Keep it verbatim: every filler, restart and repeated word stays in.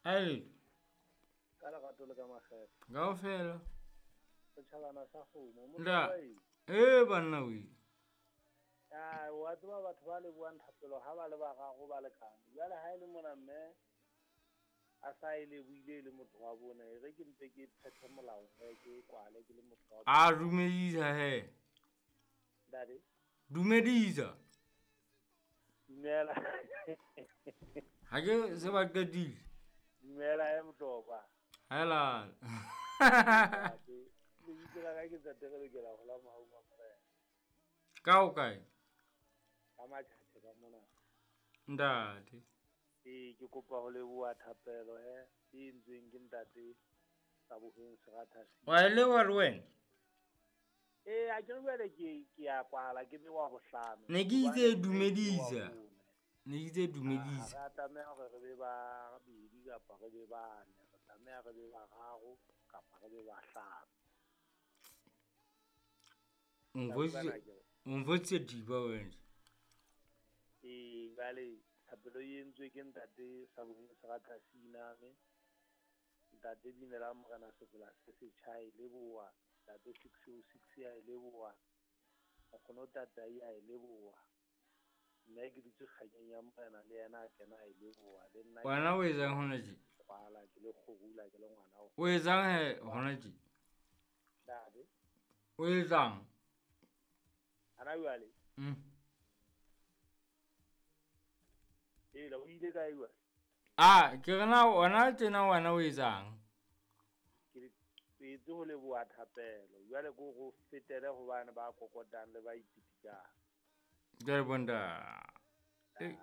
Hai. Ka lerato le ka makgethe. Kaofela. Setjhabana sa kgomo. Motho Nda. wa eng? Eh banna we. Ah, wa tseba batho ba lebohang thapelo ha ba le bararo ba lekane. Jwale ha e le mona mme a sa e lebohile e le motho wa bone, e re ke mpe ke phethe molao he, ke kwale ke le motho wa A dumedisa he. Ntate. Dumedisa. Dumela. Ha ke se ba qetile. Dumela he Motlokwa. Hela. Ntate, lebitso la ka ke Ntate re lokela ho la mohaung wa Morena. Ka o kae? Ka Matjhatjhe ka mona. Ntate. Ee, ke kopa ho leboha thapelo he, e entsweng ke ntate Tsaboheng Seratha. Wa e leboha le wena? Ee, ha ke re jwale ke, ke a kwala, ke be wa bohlano. Ne ke itse Hobane ke dumedisa. wa bone. Ne ke itse dumedisa. Ha re a tlameha hore re be babedi kapa re be bane, re tlameha re be bararo kapa re be bahlano. O nfositse, o nfositse thipa wena. Ee, jwale thapelo e entswe ke ntate Saboheng Seratha Siname. Ntate Binela Morena Sefela se setjha e leboha. Ntate six oh six ya e leboha. Nkgono Tatai a e leboha. Nna ke dutse kganyeng ya Morena le yena a kena a e leboha. Le nna ke Wena o etsang hona tje? kwala, ke le kgorula, ke le ngwana o. O etsang he hona tje? Ntate. O etsang? Hana jwale? Mm. Ee, o ile kae jwale? Ah, ke re na wena tjena wena o etsang? Ke tswetse ho leboha thapelo. Jwale ke hore o fetele hobane ba kokotang le ba ipitikang. Jwale bonta. Eh.